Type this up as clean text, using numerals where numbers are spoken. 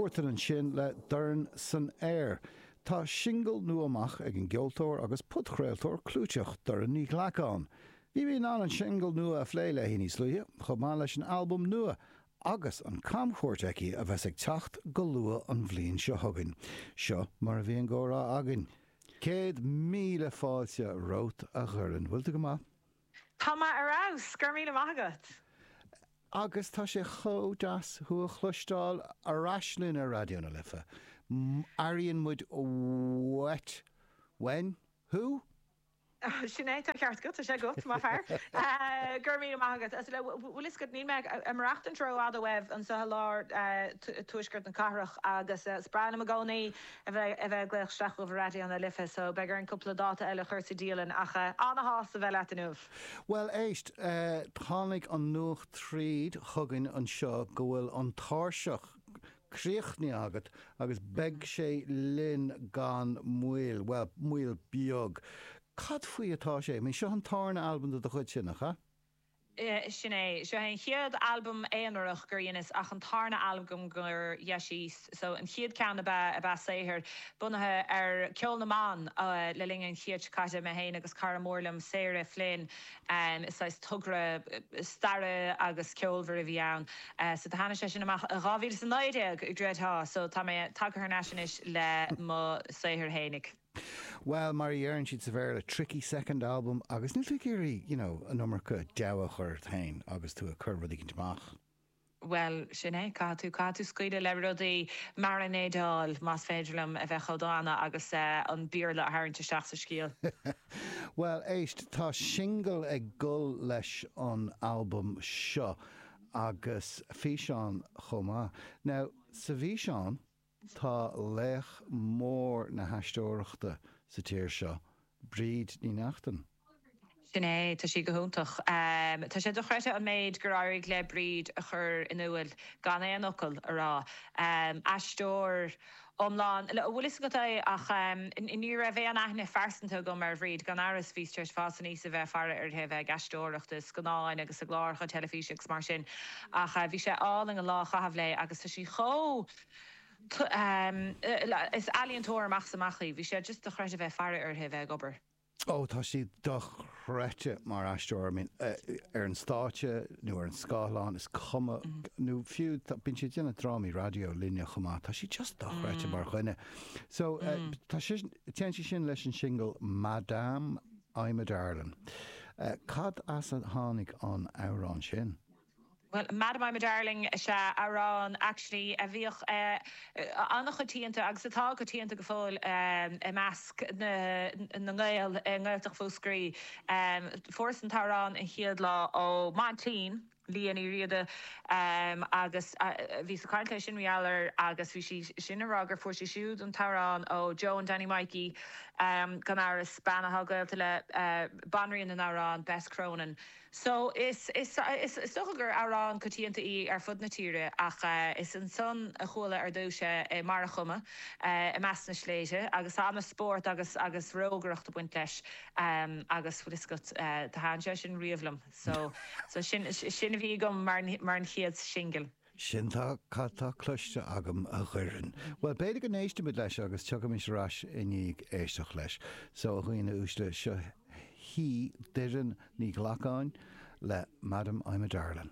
Huartan ansin le Dorn san Aer. Tá singil nua amach ag an gceoltóir agus podchraoltóir clúiteach Doireann Ní Ghlacáin. Bhí mé in ann an singil nua a phlé léi níos luaithe, chomh maith leis an albam nua agus an camchuairt aici a bheas ag teacht go luath an bhliain seo chugainn. Seo mar a bhí an comhrá againn. 100,000 fáilte romhat a Dhoireann. Bhfuil tú go maith? Tá mé ar fheabhas, go raibh míle maith agat. Agus tá sé chomh deas thú a chloisteáil ar ais linn ar Raidió na Life. Airíonn muid uait, uainn, thú? Sin é, tá an ceart agat, tá sé agat, maith fear. Go raibh míle maith agat. Bhfuil fhios agat, níl mé ag maireachtaint rófhada uaibh anseo i lár tuaisceart na cathrach agus is breá liom i gcónaí a bheith ag glaoch isteach chugaibh ar Raidió na Life so beidh orainn cúpla dáta eile a chur sa dialann ach ana-shásta bheith leat inniu. Bhuel éist, tháinig an nuacht tríd chugainn anseo go bhfuil an tairseach críochnaithe agat agus beidh sé linn gan mhoill, bhuel, moill beag. Cad faoi atá sé? I mean, seo an tarna albam de do chuidse, nach ea? Sin é. Seo é an chéad albam aonarach gur dheineas ach an tarna albam gur dheisíos. So, an chéad ceann ab ea ab ea saothar bunaithe ar ceol na mban le linn an chéid seo caite, mé féin agus cara mór liom, Sarah Flynn. Is saghas togra staire agus ceolmhar a bhí ann. So do tháinig sé sin amach i 2019, gcreidfeá. So tá mé tagtha thar n-ais anois le mo saothar fhéinig. Bhuel, mar a dheireann siad sa Bhéarla, tricky second album agus níl tú ag iarraidh, you know, an iomarca deabhadh a chur ort féin agus tú ag cur rud éicint amach. Bhuel, sin é, caithfidh tú, caithfidh tú scaoileadh le rudaí, mairinéideáil, más féidir liom a bheith chomh dána agus an Béarla a tharraingt isteach sa scéal. Bhuel, éist, tá singil ag dul leis an albam seo agus físeán chomh maith. Now, sa bhfíseán, Tá laoch mór na haisteoireachta sa tír seo, Bríd Ní Neachtain. Sin é, tá sí go hiontach. Tá sé dochreidte an méid gur éirigh le Bríd a chur in iúil gan aon fhocal a rá. Aisteoir iomlán, bhfuil fhios agat é ach ní raibh aon aithne phearsanta agam ar Bhríd, gan amhras bhíos tar éis fás aníos a bheith ag faire uirthi a bheith ag aisteoireacht i scannáin agus i gcláracha teilifíse agus mar sin ach bhí sé álainn an lá a chaitheamh léi agus tá sí chomh Is ealaíontóir amach is amach í. Bhí sé just dochreidte a bheith ag faire uirthi a bheith ag obair. Ó, tá sí dochreidte mar aisteoir. I mean, ar an stáitse nó ar an scáileán, is cuma, nó fiú, bíonn sí ag déanamh drámaí raidió linne chomh maith. Tá sí just dochreidte mar dhuine. So, tá sí, téann sí sin leis an singil Madame I'm a Darling. Cad as a tháinig an amhrán sin? Bhuel, Madam I'm a Darling, sea, amhrán actually a bhíodh an-choitianta agus atá coitianta go fóill i measc na nGael i nGaeltacht Mhúscraí. Fuaireas an t-amhrán an chéad lá ó m'aintín, Lia Ní Riada, agus bhíos ag caint léi sin mar gheall air agus bhí sí sin ag rá gur fuair sí siúd an t-amhrán ó Joan Danny Mikey, gan amhras, bean atá gaolta le banríon na n-amhrán, Bess Cronin. So, is, is, is dócha gur amhrán coitianta í ar fud na tíre ach is ansan a chuala ar dtús é i mBarra Choma, i measc na sléibhte agus tá an-spórt agus, agus rógaireacht ag baint leis agus bhfuil fhios agat, do thaitin sé sin riamh liom. So, so sin, sin a bhí agam mar, mar an chéad singil. Sin tá cad tá cloiste agam a Dhoireann. Bhuel, b'fhéidir go n-éistfimid leis agus tiocfaimis ar ais i ndiaidh éisteacht leis. So, a dhaoine uaisle, seo hí Doireann Ní Ghlacáin le Madam I'm a Darling.